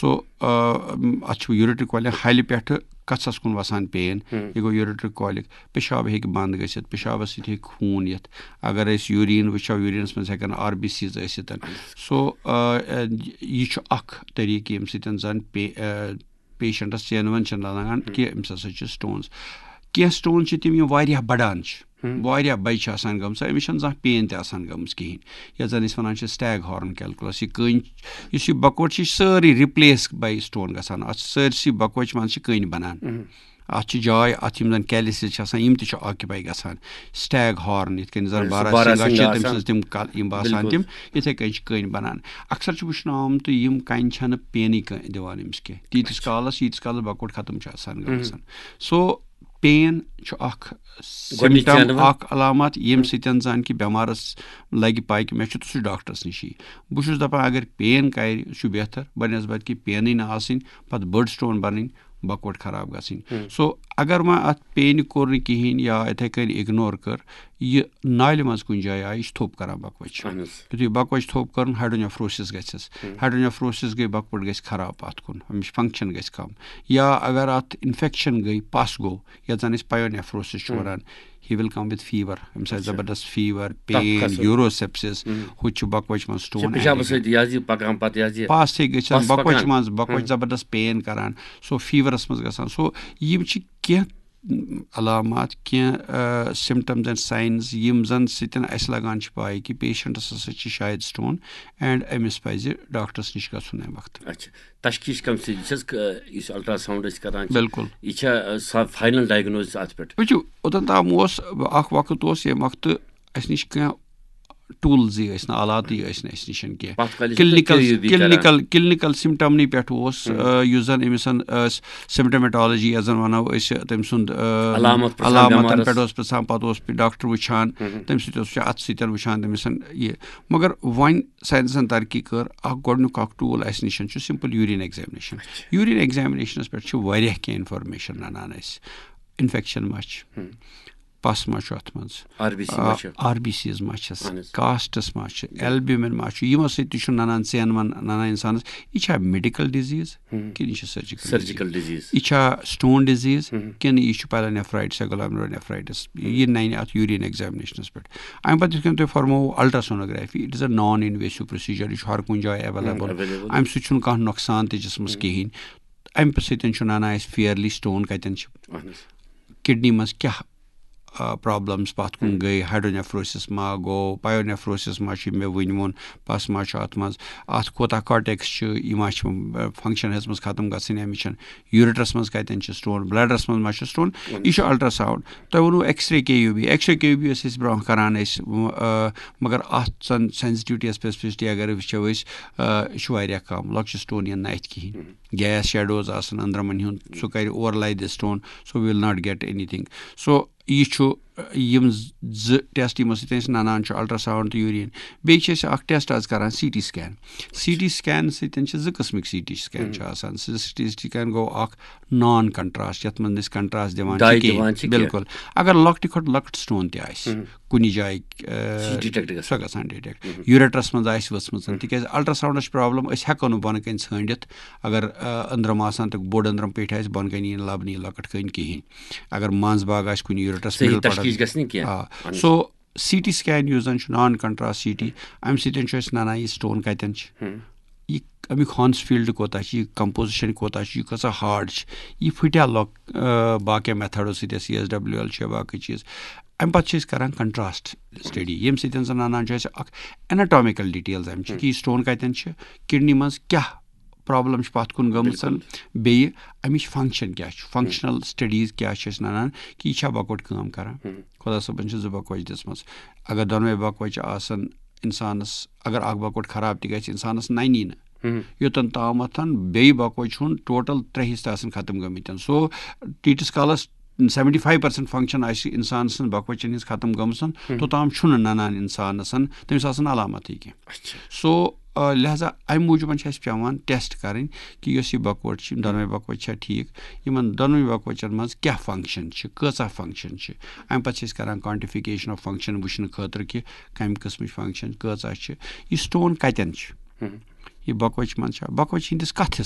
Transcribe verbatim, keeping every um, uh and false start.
سو اتھ چھُ یوریٹرک کولک ہلہِ پٮ۪ٹھٕ کَژھس کُن وَسان پین۔ یہِ گوٚو یوریٹرک کولک۔ پیشاب ہیٚکہِ بنٛد گٔژھِتھ، پیشابس سۭتۍ ہیٚکہِ خوٗن یِتھ۔ اگر أسۍ یوریٖن وٕچھو، یوریٖنس منٛز ہٮ۪کن آر بی سیز ٲسِتھ۔ سو یہِ چھُ اکھ طریٖقہٕ ییٚمہِ سۭتۍ زن پے پیشنٹس چینوَن چھِنہٕ لگان کہِ أمِس ہسا چھِ سٹونز۔ کینٛہہ سٹونز چھِ تِم، یِم واریاہ بڑان چھِ، واریاہ بجہِ چھِ آسان گٔمژٕ، أمِس چھَنہٕ زانٛہہ پین تہِ آسان گٔمٕژ کِہیٖنۍ، یَتھ زَن أسۍ وَنان چھِ سٹیگ ہارن کیلکولس۔ یہِ کٔنۍ، یُس یہِ بکوٹ چھِ، یہِ چھِ سٲرٕے ریپلیس باے سٹون گژھان۔ اَتھ چھِ سٲرسٕے بکوچہِ منٛز چھِ کٔنۍ بَنان۔ اَتھ چھِ جاے، اَتھ یِم زَن کیلسز چھِ آسان، یِم تہِ چھِ آکیوپاے گژھان۔ سٹیگ ہارن، یِتھ کٔنۍ زَن سُہ بارا بارا سنگھا سنگھا چھِ، تٔمۍ آسان۔ سٕنٛز تِم کل-، یِم باسان بِلکُل۔ تِم، یِتھَے کٔنۍ چھِ کٔنۍ بَنان۔ اکثر چھُ وٕچھنہٕ آمُت، یِم کَنہِ چھَنہٕ پینٕے کانٛہہ دِوان أمِس کینٛہہ، تیٖتِس کالَس، ییٖتِس کالَس بکوٹ ختم چھِ آسان گٔمٕژ۔ سو پین چھُ اکھ گۄڈٕنِچ سمٹم، چینل۔ اکھ علامت، ییٚمہِ سۭتۍ زن کہِ بٮ۪مارس لگہِ پاے کہِ مےٚ چھُ، تہٕ سُہ چھُ ڈاکٹرس نِش یی۔ بہٕ چھُس دپان، اگر پین کرِ، سُہ چھُ بہتر، بنسبت کہِ پینٕے نہٕ آسٕنۍ، پتہٕ بٔڑ سٹون بنٕنۍ، بکوٹ خراب گژھٕنۍ۔ سو اگر وۄنۍ اتھ پینہِ کوٚر نہٕ کِہینۍ یا یِتھے کٔنۍ اگنور کٔر، یہِ نالہِ منٛز کُنہِ جایہِ آیہِ، یہِ چھُ تھوٚپ کران بکوچ۔ اہن حظ۔ یُتھُے بکوچ تھوٚپ کٔرٕن، ہایڈرونیفروسس گژھٮ۪س۔ ہایڈرونیفروسس گٔے، بکوٹ گژھِ خراب، اتھ کُن، امِچ فنکشن گژھِ کم۔ یا اگر اتھ انفیکشن گٔے، پس گوٚو، یتھ زن أسۍ پایونیفروسس چھِ ونان، he will come with fever، أمِس آسہِ اچھا۔ زبردست فیور، تپھ پین، کھسُن۔ یوروسیپسس، ہُہ چھُ بکوچ منٛز سٹون۔ پیشابس سۭتۍ یہِ حظ یہِ پکان پتہٕ یہِ حظ یہِ۔ پس تہِ گژھن، پس بکوچ پکان۔ منٛز، بکوچ زبردست پین کران، سو فیورس منٛز گژھان۔ سو یِم چھِ کینٛہہ علامات، کینٛہہ سمٹمز اینڈ ساینز، یِم زن سۭتۍ اسہِ لگان چھِ پاے کہِ پیشنٹس ہسا چھِ شاید سٹون، اینڈ أمِس پزِ ڈاکٹرس نِش گژھُن امہِ وقتہٕ۔ اچھا، تشخیص کم سۭتۍ چھس ک-، یُس الٹراساؤنڈ أسۍ کران چھِ، بِلکُل۔ یہِ چھا، آ، سا فاینل ڈائگنوسس اتھ پٮ۪ٹھ؟ وٕچھِو، اوٚتن تام اوس اکھ وقت، اوس ییٚمہِ وقتہٕ اسہِ نِش کینٛہہ ٹولزٕے ٲسۍ نہٕ، آلاتٕے ٲسۍ نہٕ اسہِ نِش کینٛہہ۔ پتھ کالہِ ٲسۍ نہٕ کلینکل، کے یوٗ بی کران۔ کلینکل، کلینکل سمٹمنٕے پٮ۪ٹھ اوس، آ، یُس زن أمِس سمٹمیٹولوجی یتھ زن ونو أسۍ، تٔمۍ سُنٛد، آ، علامت پرژھان علامتن بٮ۪مارس۔ پٮ۪ٹھ اوس پرژھان، پتہٕ اوس ڈاکٹر وٕچھان، تٔمۍ سۭتۍ اوس وٕچھان، اتھ سۭتۍ وٕچھان تٔمِس یہِ۔ مگر وۄنۍ ساینسن ترقی کٔر، اکھ گۄڈٕنیُک اکھ ٹول اسہِ نِش چھُ سمپل یوریٖن ایگزامنیشن۔ یوریٖن ایگزامنیشنس پٮ۪ٹھ چھِ واریاہ کینٛہہ انفارمیشن ننان اسہِ۔ انفیکشن ما چھِ، پس ما چھُ اتھ منٛز، آر بی سی ما چھِ؟ آر بی سیز ما چھس، اہن حظ۔ کاسٹس ما چھِ، البیومن ما چھُ، یِمو سۭتۍ تہِ چھُ ننان، ژینوَن ننان انسانس۔ یہِ چھا میڈیکل ڈیزیز کِنہٕ یہِ چھِ سرجیکل؟ Surgical disease. یہِ چھا سٹون ڈیزیز کِنہٕ یہِ چھُ پایلونیفرائٹس یا گلامرونیفرائٹس؟ یہِ ننہِ اتھ یوریٖن ایگزامنیشنس پٮ۪ٹھ۔ امہِ پتہٕ یِتھ کٔنۍ تۄہہِ فرموو، ultrasonography, it is a non invasive procedure، یہِ چھُ ہر کُنہِ جایہِ ایویلیبل۔ ایویلیبل۔ امہِ سۭتۍ چھُنہٕ کانٛہہ نۄقصان تہِ جسمس کِہیٖنۍ۔ امہِ سۭتۍ چھُ ننان اسہِ فیئرلی سٹون کتٮ۪ن چھِ۔ اہن حظ۔ کڈنی منٛز کیٛاہ، آ، پرابلمز پتھ کُن گٔے، ہایڈرونیفروسس ما گوٚو، پایونیفروسس ما چھُ، مےٚ وٕنۍ ووٚن، پس ما چھُ اتھ منٛز، اتھ کوتاہ کارٹیکس چھُ، یہِ ما چھُ، آ، فنکشن ہیٚژمٕژ ختم گژھٕنۍ، امِچ چھنہٕ، یوریٹرس منٛز کتٮ۪ن چھِ سٹون، بلیڈرس منٛز ما چھُ سٹون، یہِ چھُ الٹراساؤنڈ۔ تۄہہِ ووٚنوُ ایکس رے کے یوٗ بی، ایکس رے کے یوٗ بی ٲسۍ أسۍ برونٛہہ کران أسۍ، آ، مگر اتھ زن سینسٹیوٹی یا اسپیسفسٹی اگر وٕچھو أسۍ، آ، یہِ چھُ واریاہ کم، لۄکچہِ سٹون یِن نہٕ اتھِ کِہینۍ۔ گیس شیڈوز آسن أنٛدرمن ہُنٛد، سُہ کرِ overlay the stone, so we will not get anything۔ So یہِ چھُ، یِم زٕ ٹیسٹ یِمو سۭتۍ أسۍ ننان چھُ، الٹراساؤنڈ تہٕ یوریٖن۔ بیٚیہِ چھِ أسۍ اکھ ٹیسٹ آز کران، C T scan. C T scan سۭتۍ چھِ زٕ قٕسمٕکۍ سی ٹی سکین چھِ آسان۔ سی ٹی سکین گوٚو اکھ نان کنٹراسٹ، یتھ منٛز أسۍ کنٹراسٹ دِوان چھِ داے کِہیٖنۍ۔ دِوان چھِ کینٛہہ۔ بِلکُل۔ اگر لۄکٹہِ کھۄتہٕ لۄکُٹ سٹون تہِ آسہِ کُنہِ جایہِ، آ، سُہ چھُ ڈِٹیکٹ گژھان۔ سۄ گژھان ڈِٹیکٹ۔ یوریٹرس منٛز آسہِ ؤژھمٕژ، تِکیازِ الٹراساؤنڈس چھِ پرابلم، أسۍ ہٮ۪کو نہٕ بۄنہٕ کنہِ ژھٲنٛڈِتھ۔ اگر، آ، أنٛدرم آسان تہٕ بوٚڑ أنٛدرم پیٚٹھۍ آسہِ، بۄنہٕ کنہِ یی نہٕ لبنہٕ یہِ لۄکٕٹ کٔنۍ کِہینۍ۔ اگر منٛز باگ آسہِ کُنہِ یوریٹرس صحیح مِڈل پارٹس، تشخیص گژھِ نہٕ کینٛہہ۔ آ، سو سی ٹی سکین یُس زن چھُ نان کنٹراسٹ سی ٹی، امہِ سۭتۍ چھُ اَسہِ ننان یہِ سٹون کتٮ۪ن چھِ۔ یہِ امیُک ہانس فیلڈ کوتاہ چھُ، یہِ کمپوزیشن کوتاہ چھُ، یہِ کۭژاہ ہارڈ چھِ، یہِ پھٹیا لۄک-، آ، باقین میتھڈو سۭتۍ، سی ایس ڈبلیو ایل چھِ یا باقٕے چیٖز۔ امہِ پتہٕ چھِ أسۍ کران کنٹراسٹ سٹڈی، ییٚمہِ سۭتۍ زن ننان چھُ اَسہِ اکھ اناٹامیکل ڈیٹیلز امہِ چھِ کہِ یہِ سٹون کتٮ۪ن چھِ، کڈنی منٛز کیٛاہ پرابلم چھِ پتھ کُن گٔمٕژ، بیٚیہِ امِچ فنکشن کیٛاہ چھُ، فنکشنل سٹڈیٖز کیٛاہ چھِ اَسہِ ننان کہِ یہِ چھا بکوٹ کٲم کران۔ خۄدا صٲبن چھِ زٕ بکوچ دِژمٕژ، اگر دۄنوَے بکوچہِ آسن انسانس، اگر اکھ بکوٹ خراب تہِ گژھِ، انسانس ننی نہٕ۔ یوٚتن تامتھ بیٚیہِ بکوچہِ ہُنٛد ٹوٹل ترٛےٚ حصہٕ آسن ختم گٔمٕتۍ۔ سو تیٖتِس کالس سیونٹی فایو پرسنٹ فنکشن آسہِ انسان سٕنٛز بکوچن ہنٛز ختم گٔمٕژ، توٚتام چھُنہٕ ننان انسانس، تٔمِس آسن علامتٕے کینٛہہ۔ اچھا۔ سو، آ، لہذا امہِ موٗجوٗبن چھِ اسہِ پٮ۪وان ٹیسٹ کرٕنۍ کہِ یۄس یہِ بکوٹ چھِ، یِم دۄنوَے بکوچہِ چھا ٹھیٖک، یِمن دۄنوَے بکوچن منٛز کیٛاہ فنکشن چھِ، کۭژاہ فنکشن چھِ۔ امہِ پتہٕ چھِ أسۍ کران quantification of function وٕچھنہٕ خٲطرٕ کہِ کمہِ قٕسمٕچ فنکشن کۭژاہ چھِ، یہِ سٹون کتٮ۪ن چھُ۔ یہِ بکوچہِ منٛز چھا، بکوچہِ ہٕنٛدِس کتھ حصس